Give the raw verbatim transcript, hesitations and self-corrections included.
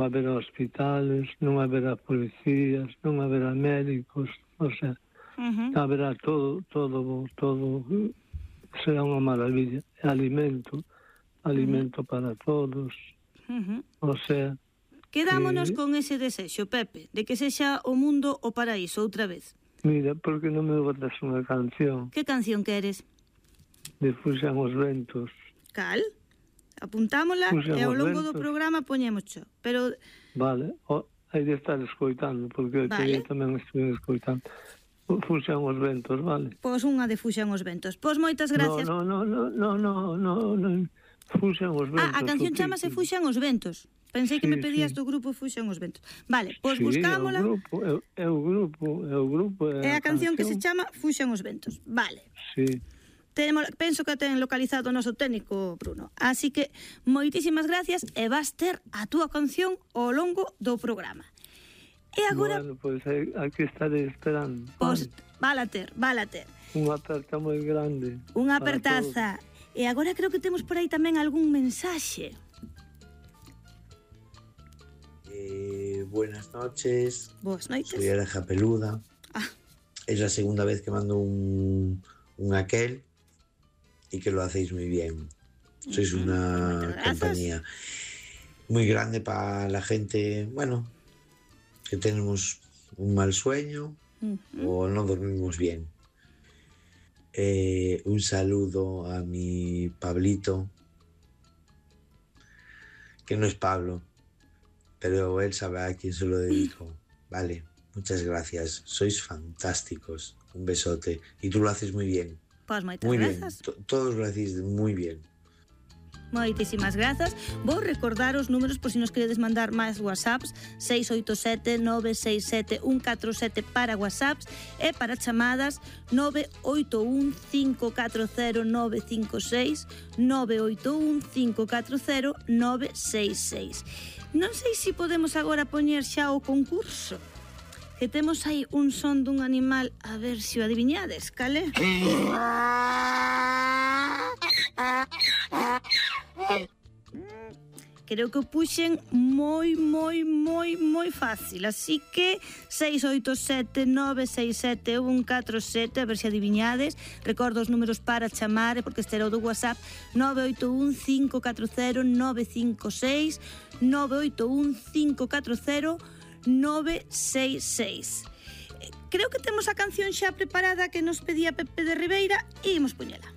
haberá hospitales, non haberá policías, non haberá médicos, o sea, uh-huh. haberá todo, todo, todo, será unha maravilla. Alimento, alimento uh-huh. para todos, uh-huh. o sea... Quedámonos que... con ese desexo, Pepe, de que sexa o mundo o paraíso outra vez. Mira, porque non me botas unha canción? Que canción queres? De Fuxan os ventos. Cal? Apuntámola e ao longo do programa poñémoscho, pero... Vale, o, hai de estar escoitando, porque vale. Eu tamén estou escoitando. Fuxan os ventos, vale? Pois unha de Fuxan os ventos. Pois moitas gracias. No, no, no, no, no, no, no, Fuxan os ventos. Ah, a canción chamase Fuxan os ventos. Pensei que sí, me pedías sí. do grupo Fuxan os ventos. Vale, pois sí, buscámola. É o grupo, é o grupo, é o grupo. É a canción, canción que se chama Fuxan os ventos. Vale. Sí. Tenemos, penso que ten localizado o noso técnico, Bruno. Así que, moitísimas gracias e vas ter a túa canción ao longo do programa. E agora... Bueno, pois pues, aquí estaré esperando. Pois, pues, vala ter, vala ter. Unha aperta moi grande. Unha apertaza. E agora creo que temos por aí tamén algún mensaxe. Eh, buenas noches. Boas noites. Soy Areja Peluda. Ah. Es la segunda vez que mando un, un aquel y que lo hacéis muy bien. Sois uh-huh. una compañía muy grande para la gente, bueno, que tenemos un mal sueño uh-huh. o no dormimos bien. Eh, un saludo a mi Pablito, que no es Pablo, pero él sabe a quién se lo dedico. Vale, muchas gracias, sois fantásticos, un besote, y tú lo haces muy bien. Pues moitas muy grazas. Bien, todos lo hacéis muy bien. Moitísimas grazas. Vou recordar os números por si nos queredes mandar máis whatsapps: seis oito sete nove seis sete un catro sete para whatsapps e para chamadas nove oito un cinco catro cero nove cinco seis, nove oito un cinco catro cero nove seis seis. Non sei se podemos agora poñer xa o concurso, que temos aí un son dun animal, a ver se o adiviñades, cale? Creo que o puxen moi, moi, moi, moi fácil, así que seis oito sete nove seis sete un catro sete, a ver se adiviñades. Recordo os números para chamar, porque este era o do WhatsApp: nove oito un cinco catro cero nove cinco seis, nove oito un cinco catro cero nove seis seis. Creo que temos a canción xa preparada que nos pedía Pepe de Ribeira e imos poñela.